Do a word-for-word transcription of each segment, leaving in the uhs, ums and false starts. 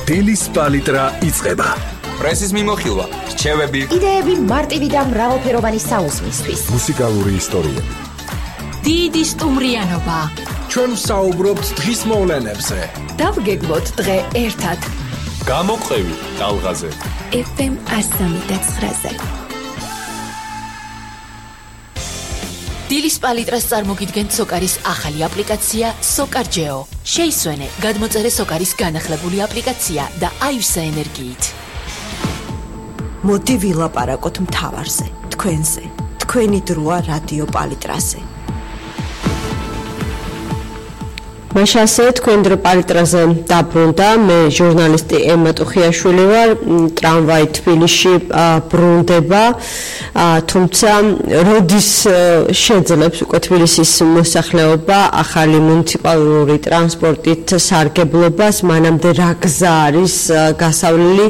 დილის პალიტრა იწყება. პრესის მიმოხილვა, რჩევები, იდეები მარტივი და მრავალფეროვანი საუზმისთვის. მუსიკალური ისტორიები. დიდი სტუმრიანობა. ჩვენ ვსაუბრობთ დღის მოვლენებზე. დავგეგმოთ დღე ერთად. გამოყევი ტალღაზე. ეფ ემ ასამი და ცხრაზე. დილის პალიტრას წარმოგიდგენთ სოკარის ახალი აპლიკაცია სოკარჯეო. შეისვენე, გადმოწერე სოკარის განახლებული აპლიკაცია და აივსა ენერგიით. მოდი ვილაპარაკოთ მთავარზე, თქვენზე, თქვენი დროა რადიო პალიტრაზე. მაშასე თქვენ დრო პალიტრაზე დაბრუნდა, მე ჟურნალისტი ემა ტუხიაშვილი ვარ, ტრამვაი თბილისში ბრუნდება, თუმცა როდის შეძლებს უკვე თბილისის მოსახლეობა ახალი მუნიციპალური ტრანსპორტით სარგებლობას, მანამდე რა გზა არის გასავლელი,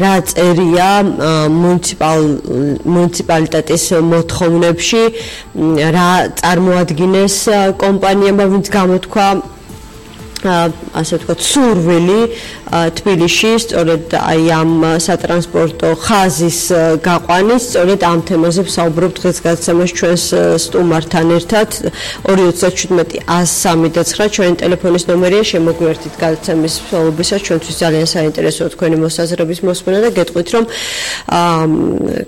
რა წერია მუნიციპალ მუნიციპალიტეტის მოთხოვნებში, რა წარმოადგინეს კომპანიებმა, ვინც გამოთქვა ასე ვთქვათ, სურვილი თბილისში, სწორედ აი ამ სატრანსპორტო ხაზის გაყვანის, სწორედ ამ თემაზე ვსაუბრობ დღეს გადაცემაში ჩვენს სტუმართან ერთად. ორი ოცდაათი შვიდმეტი ას სამი და ცხრა ჩვენი ტელეფონის ნომერია, შემოგვიერთით გადაცემის მსვლელობისას, ჩვენთვის ძალიან საინტერესოა თქვენი მოსაზრების მოსმენა და გეტყვით, რომ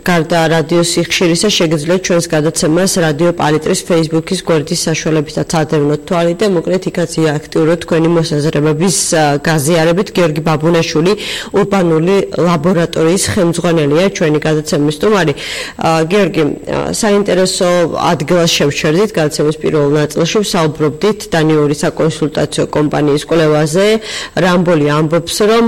გარდა რადიო სიხშირისა შეგიძლიათ ჩვენს გადაცემას რადიო პალიტრის Facebook-ის გვერდის საშუალებითაც ადევნოთ თვალი და მოკლედ იქაც აქტიუროთ თქვენი მოსაზრებების გაზიარებით. გიორგი ბაბუნაშვილი, ურბანული ლაბორატორიის ხელმძღვანელია, ჩვენი გადაცემის სტუმარი. გიორგი, საინტერესო ადგილას შევჩერდით გადაცემის პირველ ნაწილში, ვსაუბრობდით დანიური საკონსულტაციო კომპანიის კვლევაზე. რამბოლი ამბობს, რომ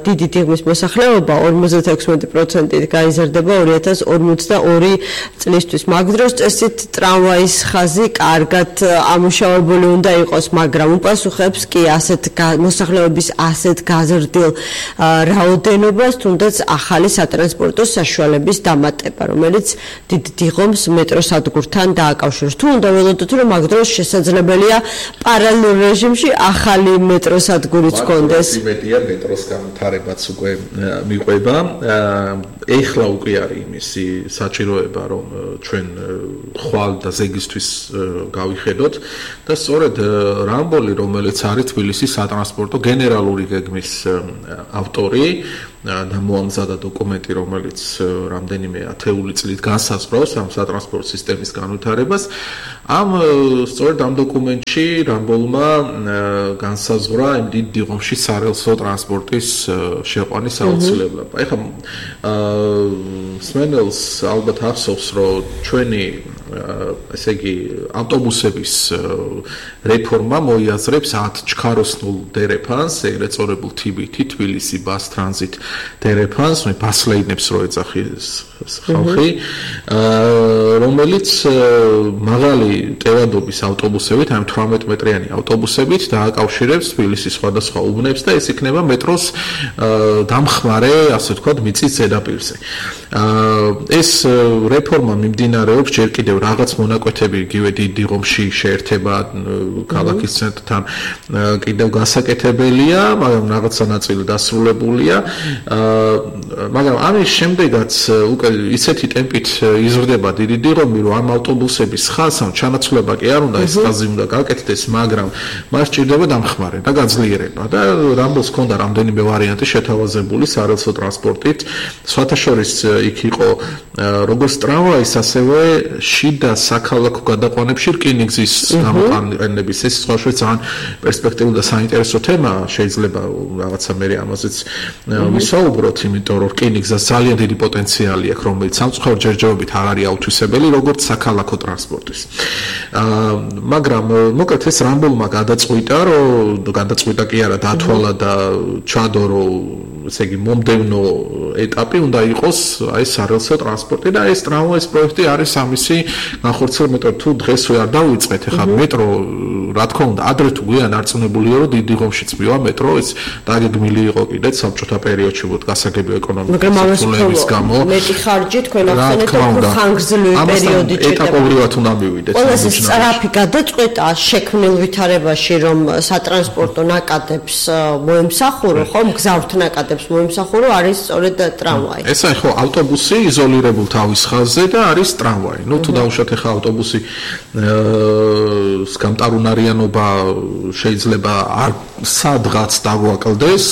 დიდი დიღმის მოსახლეობა ორმოცდაექვსი პროცენტით გაიზარდება ორი ათას ორმოცდაორი წლისთვის. მაგ დროს წესით ტრამვაის ხაზი კარგად ამუშავებული უნდა იყოს, მაგრამ უპასუხებს კი ასეთ მოსახლეობის ასეთ გაზრდილ რაოდენობას, თუნდაც ახალი სატრანსპორტო საშუალების დამატება, რომელიც დიდ დიღომს მეტროსადგურთან დააკავშირებს. თუ უნდა ველოდოთ, რომ მაგ დროს შესაძლებელია პარალელურ რეჟიმში ახალი მეტროსადგურიც გქონდეს. იმედია მეტროს განვითარებაც უკვე მიყვება. ეხლა უკვე არის იმისი საჭიროება, რომ ჩვენ ხვალ და ზეგისთვის გავიხედოთ და სწორედ რამბოლი, რომელიც არის თბილისის სატრანსპორტო გენერალური გეგმის ავტორი და მოამზადა დოკუმენტი, რომელიც რამდენიმე ათეული წლით განსაზღვრავს ამ სატრანსპორტო სისტემის განვითარებას. ამ სწორედ ამ დოკუმენტში რამბოლმა განსაზღვრა იმ დიდ დიღომში სარელსო ტრანსპორტის შეყვანის აუცილებლობა. ეხლა სმენელს ალბათ ახსოვს, რომ ჩვენი ესე იგი ავტობუსების რეფორმა მოიაზრებს ათ ჩქაროსნულ დერეფანს, ეგრეთ წოდებულ თი ბი თი, თბილისი ბას ტრანზიტ დერეფანს, მე ბასლეინებს რო ეძახის ხალხი, რომელიც მაღალი ტევადობის ავტობუსებით, ამ თვრამეტ მეტრიანი ავტობუსებით დააკავშირებს თბილისის სხვადასხვა უბნებს და ეს იქნება მეტროს დამხმარე, ასე ვთქვათ, მიწის ზედაპირზე. ეს რეფორმა მიმდინარეობს ჯერ კიდევ რაღაც მონაკვეთები იგივე დიდ დიღომში შეერთება ქალაქის ცენტრთან კიდევ გასაკეთებელია, მაგრამ რაღაცა ნაწილი დასრულებულია. მაგრამ ამის შემდეგაც უკვე ისეთი ტემპით იზრდება დიდი დიღომი, რომ ამ ავტობუსების ხაზს ჩანაცვლება კი არ უნდა, ეს ხაზი უნდა გაკეთდეს, მაგრამ მას სჭირდება დამხმარე და გაძლიერება. და რამბოლს ჰქონდა რამდენიმე ვარიანტი შეთავაზებული სარელსო ტრანსპორტით, სხვათა შორის იქ იყო როგორც ტრამვაის, ასევე შიდა საქალაქო გადაყვანებში რკინიგზის გამოყენების. ეს სხვაშორის ძალიან პერსპექტიული და საინტერესო თემა, შეიძლება რაღაცა მე ამაზეც ვისაუბროთ, იმიტომ რომ რკინიგზას ძალიან დიდი პოტენციალი აქვს, რომელიც სამწუხაროდ ჯერჯერობით არ არის აუთვისებელი როგორც საქალაქო ტრანსპორტის. მაგრამ მოკლედ ეს რამბოლმა გადაწყვიტა, რომ გადაწყვიტა კი არა, დათვალა და ჩადო, რომ ესე იგი მომდევნო ეტაპი უნდა იყოს აი სარელსო ტრანსპორტი და ეს ტრამვაის პროექტი არის ამისი განხორციელება მეტრო თუ დღეს ვერ დავიწყეთ ახლა მეტრო რა თქმა უნდა ადრე თუ გვიან არწმუნებულია რომ დიდი ღომშიც მივა მეტრო ეს დაგეგმილი იყო კიდეც საბჭოთა პერიოდში ვოთ გასაგები ეკონომიკის ცვლილების გამო მეტი ხარჯი თქვენ ახსენეთ რომ ხანგრძლივი პერიოდი ჭირდება ეტაპობრივად უნდა მივიდეთ ეს სწრაფი გადაწყვეტა შექმნილ ვითარებაში რომ სატრანსპორტო ნაკადებს მოემსახურო ხო მგზავრთ ნაკადებს მოემსახურო არის სწორედ ტრამვაი ეს აი ხო ავტობუსი იზოლირებულ თავის ხაზზე და არის ტრამვაი ნუ თუ დავუშვათ ახლა ავტობუსი გამტარუნარიანობა შეიძლება არ სადღაც დაგვაკლდეს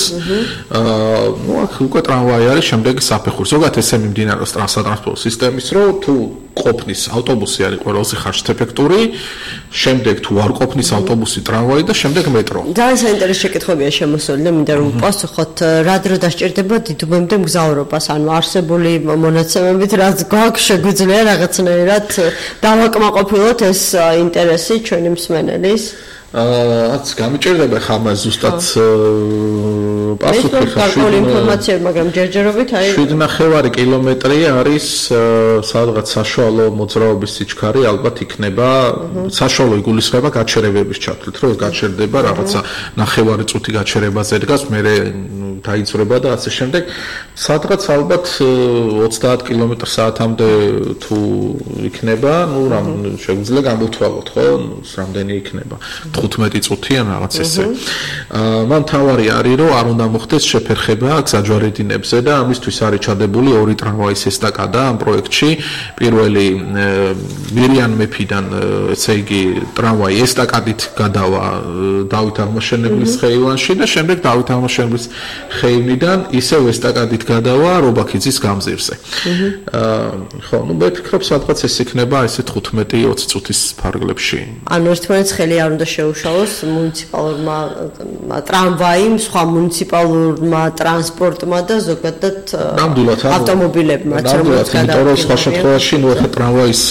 ნუ აქ უკვე ტრამვაი არის შემდეგი საფეხური ზოგადად ესე მიმდინარეობს ტრანსპორტ სისტემის რომ თუ ყოფნის ავტობუსი არის ყველაზე ხარჯთეფექტური შემდეგ თუ არ ყოფნის ავტობუსი ტრამვაი და შემდეგ მეტრო ძალიან საინტერესო შეკითხვებია შემოსული და მინდა რომ პასუხოთ რა დრო დასჭირდება დიდუბემდე მგზავრობას ანუ არსებული მონაცემებით რაც გვაქვს შეგვიძლია რაღაცნაირად დავაკმაყოფილოთ ეს ინტერესი ჩვენი მსმენელის აა გამიჭირდება ხამა ზუსტად პასუხი ხარ ინფორმაცია მაგრამ ჯერჯერობით აი შვიდ ნახევარი კილომეტრი არის სადღაც საშუალო მოძრაობის სიჩქარე ალბათ იქნება საშუალო იგულისხმება გაჩერებების ჩათვლით რომ გაჩერდება რაღაცა ნახევარი წუთი გაჩერებაზე დგას მე დაიწურება და ასე შემდეგ სადღაც ალბათ ოცდაათ კილომეტრ საათამდე თუ იქნება ნუ რამ შეგვიძლია გამოვთვალოთ ხო რამდენი იქნება თხუთმეტი წუთი ან რაღაც ესე. მან თავარი არის რომ არ უნდა მოხდეს შეფერხება გზაჯვარედინებზე და ამისთვის არის ჩადებული ორი ტრამვაის ესტაკადა ამ პროექტში. პირველი მირიან მეფიდან ესე იგი ტრამვაი ესტაკადით გადავა დავით აღმაშენებლის ხეივანში და შემდეგ დავით აღმაშენებლის ხეივნიდან ისევ ესტაკადით გადავა რობაქიძის გამზირზე. ხო, ნუ მე ვფიქრობ სადღაც ეს იქნება ესე თხუთმეტი ოცი წუთის ფარგლებში. ანუ ერთმანეთს ხელი არ უნდა შეუშალოს მუნიციპალურმა ტრამვაიმ, სხვა მუნიციპალურმა ტრანსპორტმა და ზოგადად ავტომობილებმა, რომელიც გადავა. სხვა შემთხვევაში ნუ ახლა ტრამვაის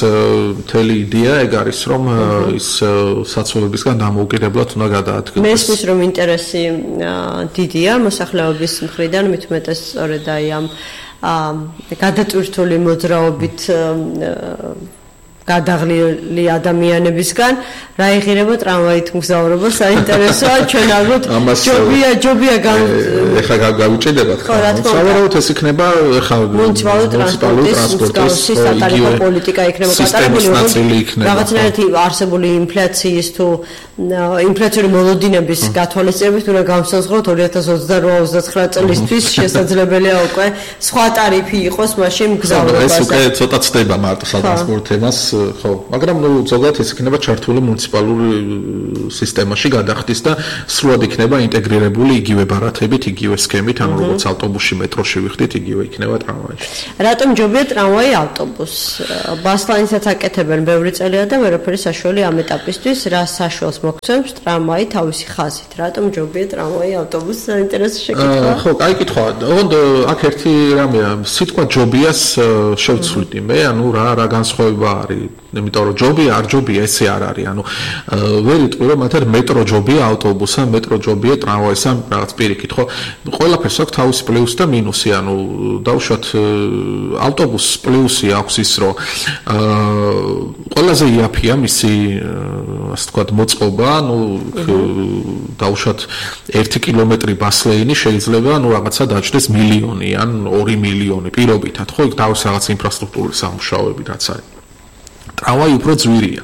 მთელი იდეა ეგ არის რომ ის საცხოვრებისგან დამოუკიდებლად უნდა გადაადგილდეს. მესმის რომ ინტერესი დიდია მოსახლეობის მხრიდან, მით უმეტეს სწორედ აი ამ გადატვირთული მოძრაობით გადაღლილი ადამიანებისგან რა იღირება ტრამვაით მგზავრობა საინტერესოა ჩვენ ალბათ ჯობია ჯობია ეხლა გავუჭედებათ ხო სავარაუდოდ ეს იქნება ეხლა მუნიციპალური ტრანსპორტის სატარიფო პოლიტიკა იქნება გატარებული რაღაცნაირად არსებული ინფლაციის თუ ინფლაციური მოლოდინების გათვალისწინებით უნდა გავსაზღვროთ ორი ათას ოცდაოთხ ოცდათხრა წლისთვის შესაძლებელია უკვე სხვა ტარიფი იყოს მაშინ მგზავრობაზე ეს უკვე ცოტა ცდება მარტო სატრანსპორტ თემას ხო, მაგრამ ნუ ზოგადად ეს იქნება ჩართული მუნიციპალური სისტემაში გადახდის და სრულად იქნება ინტეგრირებული იგივე ბარათებით, იგივე სქემით, ანუ როგორც ავტობუსში, მეტროში ვიხდით, იგივე იქნება ტრამვაიში. რატომ ჯობია ტრამვაი ავტობუსს? ბასლანისაც აკეთებენ ბევრი წელია და ვერაფერი საშუალი ამ ეტაპისთვის, რა საშუალს მოგცემს ტრამვაი თავისი ხაზით. რატომ ჯობია ტრამვაი ავტობუსს? საინტერესო შეკითხვა. ხო, კაი კითხვა. ოღონდ აქ ერთი რამეა, სიტყვა ჯობიას შევცვლით მე, ანუ რა რა განსხვავება არის იმიტომ რომ ჯობია არ ჯობია ესე არ არის ანუ ვერ იტყვი რომ მათ მეტრო ჯობია ავტობუსა მეტრო ჯობია ტრამვაისა რაღაც პირიქით ხო ყველაფერს აქვს თავისი პლუსი და მინუსი ანუ დავუშვათ ავტობუსს პლუსი აქვს ის რომ ყველაზე იაფია მისი ასე ვთქვათ მოწყობა ანუ დავუშვათ ერთი კილომეტრი ბასლეინი შეიძლება ანუ რაღაცა დაჭდეს მილიონი ან ორი მილიონი პირობითად ხო იქ თავის რაღაც ინფრასტრუქტურული სამუშაოები რაც არის ტრამვაი უფრო ძვირია.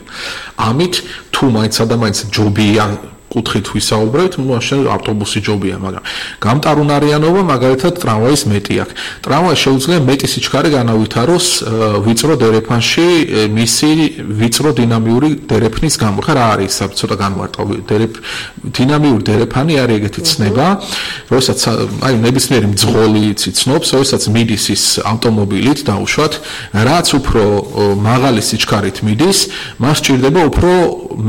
ამით თუ მაინცა და მაინც ჯობია კუთხით ვისაუბრებთ, ну მაშინ ავტობუსი ჯობია, მაგრამ გამტარუნარიანობა მაგალითად ტრამვაის მეტი აქვს. ტრამვაი შეუძლია მეტი სიჩქარე განავითაროს ვიწრო დერეფანში მისი ვიწრო დინამიური დერეფნის გამო. ხა რა არის ეს ცოტა განმარტავი დერეფ დინამიური დერეფანი არის ეგეთი ცნება, როდესაც აი ნებისმიერი მძღოლი იცნობს, როდესაც მიდის ის ავტომობილით დაუშვათ, რაც უფრო მაღალი სიჩქარით მიდის, მას სჭირდება უფრო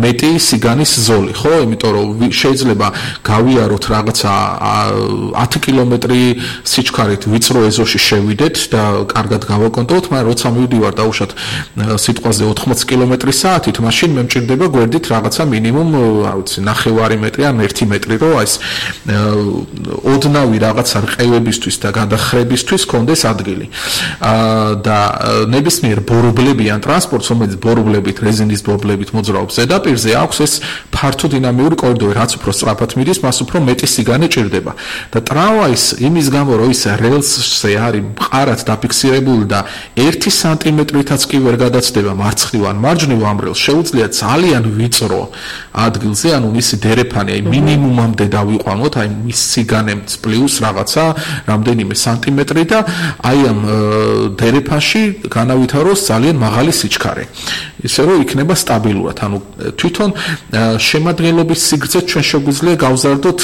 მეტი სიგანის ზოლი, ხო? იმიტომ რომ შეიძლება გავიაროთ რაღაცა ათი კილომეტრი სიჩქარით ვიწრო ეზოში შევიდეთ და კარგად გავაკონტროლოთ, მაგრამ როცა მივდივარ დაუშვათ სიტყვაზე ოთხმოცი კილომეტრი საათით, მაშინ მე მჭირდება გვერდით რაღაცა მინიმუმ, არ ვიცი, ნახევარი მეტრი ან ერთი მეტრი, რომ ეს ოდნავი რაღაცა რყევებისთვის და გადახრებისთვის კონდეს ადგილი. და ნებისმიერ ბორბლებიან ტრანსპორტს, რომელიც ბორბლებით, რეზინის ბორბლებით მოძრაობს ზედაპირზე, აქვს ეს ფართო დინამიური კორიდორი, რაც უფრო სწრაფად მიდის, მას უფრო მეტი სიგანე ჭირდება. და ტრამვაის იმის გამო, რომ ის რელსზე არის მყარად დაფიქსირებული და ერთი სანტიმეტრითაც კი ვერ გადაცდება მარცხნივ ან მარჯვნივ ამ რელს, შეუძლია ძალიან ვიწრო ადგილზე, ანუ მისი დერეფანი აი მინიმუმამდე დავიყვანოთ, აი მის სიგანემ პლუს რაღაცა რამდენიმე სანტიმეტრი და აი ამ დერეფანში განავითაროს ძალიან მაღალი სიჩქარე. ისე რომ იქნება სტაბილურად, ანუ თვითონ შემადგენლობის სიგრძე ჩვენ შეგვიძლია გავზარდოთ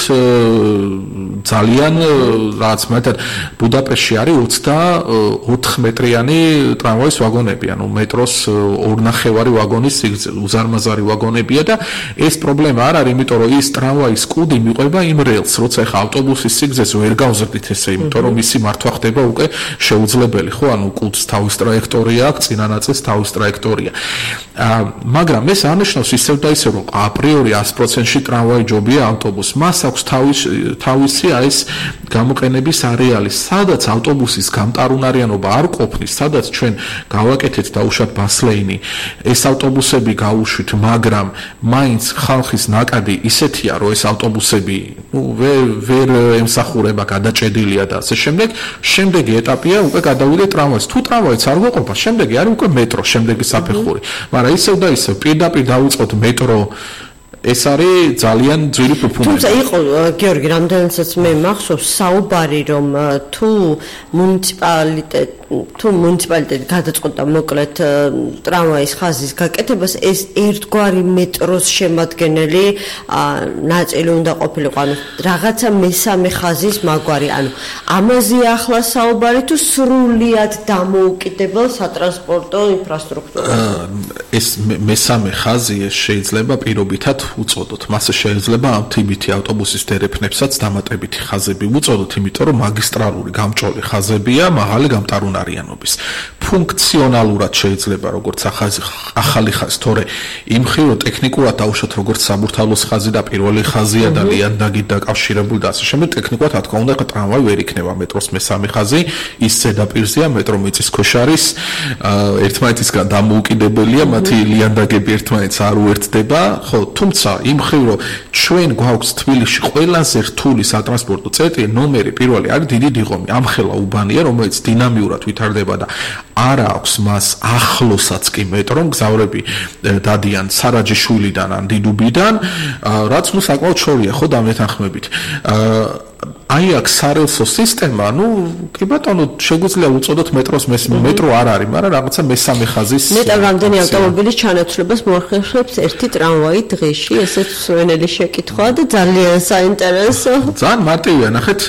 ძალიან რაც მეტად ბუდაპეშტში არის ოცდაოთხ მეტრიანი ტრამვაის ვაგონები, ანუ მეტროს ორნახევარი ვაგონის სიგრძე, უზარმაზარი ვაგონებია და ეს პრობლემა არ არის, იმიტომ რომ ის ტრამვაის კუდი მიყვება იმ რელს, როცა ეხა ავტობუსის სიგრძეს ვერ გავზრდით ესე, იმიტომ რომ მისი მართვა ხდება უკვე შეუძლებელი, ხო, ანუ კუდს თავის ტრაექტორია აქვს, წინა ნაწილს თავის ტრაექტორია. მაგრამ ეს არნიშნავს ისევ და ისევ რომ აპრიორი ათი პროცენტში ტრამვაი ჯობია ავტობუსს. მას აქვს თავისი ეს გამოყენების არეალი, სადაც ავტობუსის გამტარუნარიანობა არ ყოფნის, სადაც ჩვენ გავაკეთეთ დაუშვათ ბასლეინი, ეს ავტობუსები გავუშვით, მაგრამ მაინც ხალხის ნაკადი ისეთია, რომ ეს ავტობუსები ნუ ვერ ვერ ემსახურება, გადაჭედილია და ასე შემდეგ. შემდეგი ეტაპია უკვე გადავიდე ტრამვაის. თუ ტრამვაიც არ გვეყოფა, შემდეგი არის უკვე მეტრო, შემდეგი საფეხური. მაგრამ ისევ და ისევ პირდაპირ დავიწყოთ მეტრო, ეს არის ძალიან ძვირი ფუფუნები. თუმცა იყო გიორგი, რამდენადაც მე მახსოვს საუბარი, რომ თუ მუნიციპალიტეტი თუ მუნიციპალიტეტი გადაწყვეტა მოკლედ ტრამვაის ხაზის გაკეთებას, ეს ერთგვარი მეტროს შემადგენელი ნაწილი უნდა ყოფილიყო, ანუ რაღაცა მესამე ხაზის მაგვარი, ანუ ამაზე ახლა საუბარი თუ სრულიად დამოუკიდებელ სატრანსპორტო ინფრასტრუქტურაზე. ეს მესამე ხაზი ეს შეიძლება პირობითად უწოდოთ. მასე შეიძლება ამ თიბითი ავტობუსის დერეფნებსაც დამატებითი ხაზები უწოდოთ, იმიტომ რომ მაგისტრალური გამჭოლი ხაზებია მაღალი გამტარუნარიანობის. ფუნქციონალურად შეიძლება როგორც ახალი ხაზი, თორე იმ ხირო ტექნიკურად დაუშვათ როგორც საბურთალოს ხაზი და პირველი ხაზია და ლიანდაგით დაკავშირებული და ასე შემდეგ, ტექნიკურად რა თქმა უნდა ტრამვაი ვერ იქნება მეტროს მესამე ხაზი, ის ზედაპირზეა, მეტრო მიწისქვეშ არის, ერთმანეთისგან დამოუკიდებელია, მათი ლიანდაგები ერთმანეთს არ უერთდება, ხო, თუმცა იმ ხრივ რომ ჩვენ გვაქვს თბილისში ყველაზე რთული სატრანსპორტო წერტილი, ნომერი პირველი არის დიდი დიღომი, ამხელა უბანია, რომელიც დინამიურად ვითარდება და არ აქვს მას ახლოსაც კი მეტრომ გზავრები დადიან სარაჯიშვილიდან ან დიდუბიდან, რაც ნუ საკმაოდ შორია, ხო, დამეთანხმებით. აი აქ სარელსო სისტემა, ну, კი ბატონო, შეგვიძლია უწოდოთ მეტროს მეტრო არ არის, მაგრამ რაღაცა მესამე ხაზის მეტად რამდენი ავტომობილის ჩანაცვლებას მოახერხებს ერთი ტრამვაი დღეში, ესეც სვენელი შეკითხვაა და ძალიან საინტერესო. ძალიან მარტივია, ნახეთ,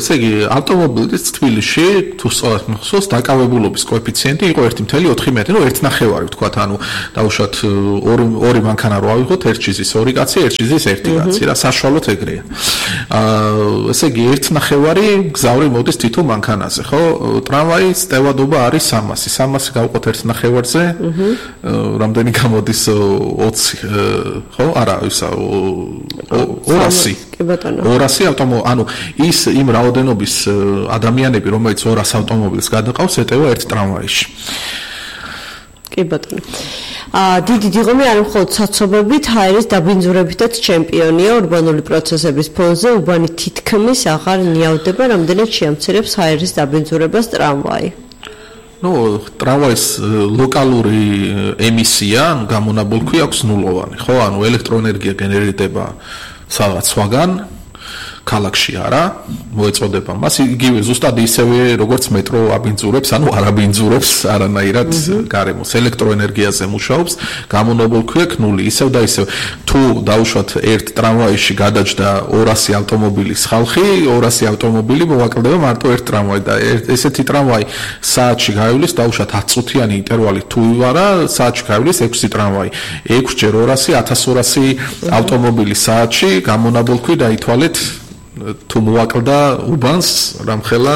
ესე იგი, ავტომობილის თბილისში, თუ სწორად მახსოვს, დაკავებულობის კოეფიციენტი იყო ერთი კoma ოთხი მეტრი, ну, ერთი ნახევარი ვთქვათ, ანუ დავუშვათ ორი ორი მანქანა რო ავიღოთ, ერთ ჩიზის ორი კაცი, ერთ ჩიზის ერთი კაცი, რა საშუალოდ ეგრეა. აა, ესე იგი, ერთ ნახევარი გზავრი მოდის თითო მანქანაზე, ხო? ტრამვაის ტევადობა არის სამასი. სამასი გავყოთ ერთ ნახევარზე. რამდენი გამოდის ოცი, ხო? არა, ისა ორასი. კი ბატონო. ორასი ავტომობილი, ანუ ის იმ რაოდენობის ადამიანები, რომელიც ორას ავტომობილს გადაყავს, ეტევა ერთ ტრამვაიში. კი ბატონო. აა დიდი დიღომი არ მხოლოდ საცობებით, ჰაერის დაბინძურებითაც ჩემპიონია ურბანული პროცესების ფონზე, უბანი თითქმის აღარ ნიავდება, რამდენად შეამცირებს ჰაერის დაბინძურებას ტრამვაი. ну, ტრამვაის ლოკალური ემისია, ანუ გამონაბოლქვი აქვს ნულოვანი, ხო? ანუ ელექტროენერგია გენერირდება სადღაც სხვაგან, ქალაქში არა, მოეწოდება მას იგივე ზუსტად ისევე როგორც მეტრო აბინძურებს, ანუ არ აბინძურებს არანაირად გარემოს, ელექტროენერგიაზე მუშაობს, გამონაბოლ ქვია ნული, ისევ და ისევ. თუ დაუშვათ ერთ ტრამვაიში გადაჯდა ორასი ავტომობილის ხალხი, ორასი ავტომობილი მოვაკლდება მარტო ერთ ტრამვაი და ესეთი ტრამვაი საათში გაივლის, დაუშვათ ათი წუთიანი ინტერვალით თუ ივარა, საათში გაივლის ექვსი ტრამვაი. ექვსი ჯერ ორასი, ათას ორასი ავტომობილი საათში გამონაბოლქვი დაითვალეთ თუ მოვაკლდა უბანს რამხელა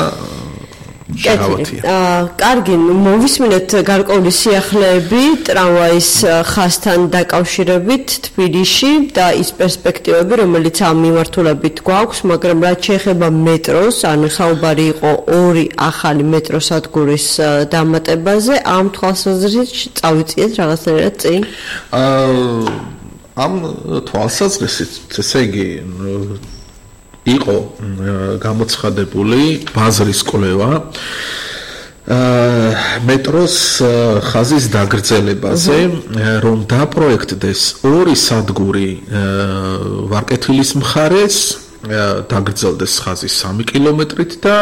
შეგავათია. აა, კარგი, მოვისმინეთ გარკვეული სიახლეები ტრამვაის ხაზთან დაკავშირებით თბილისში და ის პერსპექტივები, რომელიც ამ მიმართულებით გვაქვს, მაგრამ რაც შეეხება მეტროს, ანუ საუბარი იყო ორი ახალი მეტროსადგურის დამატებაზე, ამ თვალსაზრისით წავიწიეთ რაღაცნაირად წინ. აა, ამ თვალსაზრისით, ესე იგი იყო გამოცხადებული ბაზრის კვლევა მეტროს ხაზის დაგრძელებაზე, რომ დაპროექტდეს ორი სადგური ვარკეთილის მხარეს, დაგრძელდეს ხაზი სამი კილომეტრით და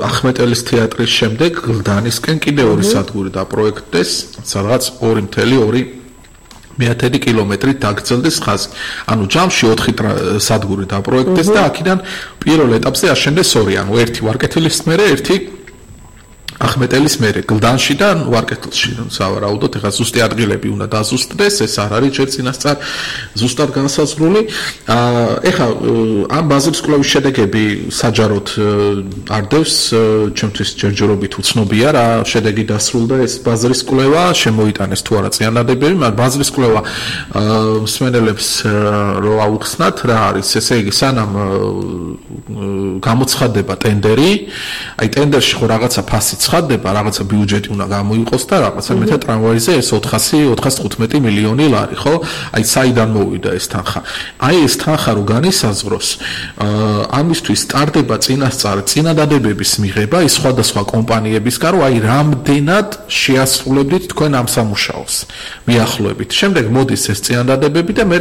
ახმეტელის თეატრის შემდეგ გლდანისკენ კიდევ ორი სადგური დაპროექტდეს, სადღაც ორი მთელი ორი მეათედი კილომეტრით დაგრძელდეს ხაზი. ანუ ჯამში ოთხი სადგური დაპროექტდეს და აქედან პირველ ეტაპზე აშენდეს ორი, ანუ ერთი ვარკეთილის მერე, ერთი ახმეტელის მერე, გლდანში და ვარკეთილში. სავარაუდოდ, ეხლა ზუსტი ადგილები უნდა დაზუსტდეს, ეს არ არის ჯერ წინასწარ ზუსტად განსაზღვრული. ეხლა ამ ბაზრის კვლევის შედეგები საჯაროდ არ დევს, ჩემთვის ჯერჯერობით უცნობია რა შედეგი დასრულდა ეს ბაზრის კვლევა, შემოიტანეს თუ არა წინადადებები, მაგრამ ბაზრის კვლევა მსმენელებს რო აუხსნათ რა არის, ესე იგი სანამ გამოცხადება ტენდერი, აი ტენდერში ხო რაღაცა ფასი ცხადდება, რაღაცა ბიუჯეტი უნდა გამოიყოს და რაღაცა მეთა ტრამვაიზე ეს ოთხასი ოთხასწრაფ მილიონი ლარი, ხო? აი საიდან მოვიდა ეს თანხა? აი ეს თანხა რო განისაზღვროს, ამისთვის სტარდება წინასწარ წინადადებების მიღება ის სხვადასხვა კომპანიებისგან, რომ აი რამდენად შეასრულებდით თქვენ ამ სამუშაოს. მიახლოებით. შემდეგ მოდის ეს წინადადებები და მე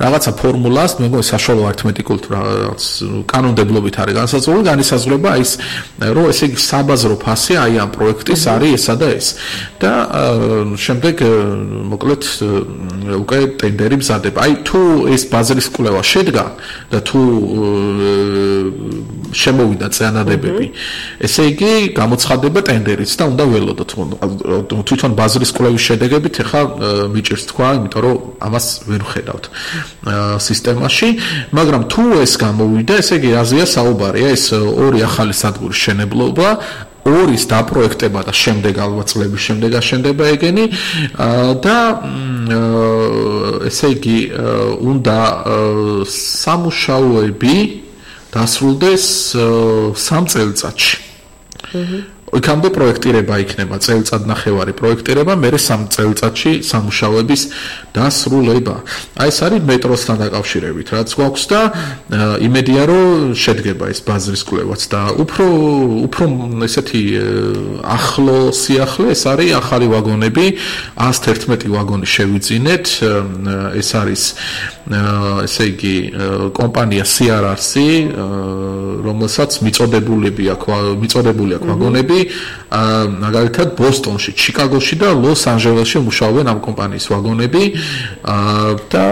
რაღაცა ფორმულას, მე მგონი საშუალო არითმეტიკული რაღაც კანონმდებლობით არის განსაზღვრული, განისაზღვრება ის, რომ ესე იგი საბაზრო ფასი აი ამ პროექტის არის ესა და ეს. და შემდეგ მოკლედ უკვე ტენდერი მზადება. აი თუ ეს ბაზრის კვლევა შედგა და თუ შემოვიდა წინადადებები, ესე იგი გამოცხადება ტენდერიც და უნდა ველოდოთ. თვითონ ბაზრის კვლევის შედეგებით ახლა მიჭირს თქვა, იმიტომ რომ ამას ვერ ვხედავთ სისტემაში, მაგრამ თუ ეს გამოვიდა, ესე იგი აზია საუბარი, ეს ორი ახალი სადგურის შენებლობა ორის დაპროექტება და შემდეგ ალბათ წლების შემდეგ აშენდება ეგენი და ესე იგი უნდა სამუშაოები დასრულდეს სამ წელიწადში. იქამდე პროექტირება იქნება, წელიწადნახევარი პროექტირება, მერე სამ წელიწადში სამუშაოების დასრულება. აი ეს არის მეტროსთან დაკავშირებით, რაც გვაქვს და იმედია რომ შედგება ეს ბაზრის კვლევაც და უფრო უფრო ესეთი ახლო სიახლე ეს არის ახალი ვაგონები, ას თერთმეტი ვაგონი შევიძინეთ, ეს არის ესე იგი კომპანია სი არ არ სი, რომელსაც მიწოდებულები აქვს, მიწოდებული აქვს ვაგონები მაგალითად ბოსტონში, ჩიკაგოში და ლოს-ანჯელესში მუშაობენ ამ კომპანიის ვაგონები და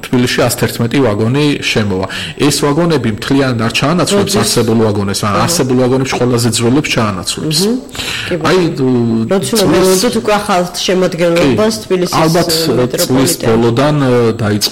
თბილისში ას თერთმეტი ვაგონი შემოვა. ეს ვაგონები მთლიანად არ ჩაანაცვლებს არსებულ ვაგონებს, მაგრამ არსებულ ვაგონებში ყველაზე ძველებს ჩაანაცვლებს. აი როცა მოვიდეთ უკვე ახალ შემოადგენლობას თბილისის ალბათ წლის ბოლოდან დაიწყება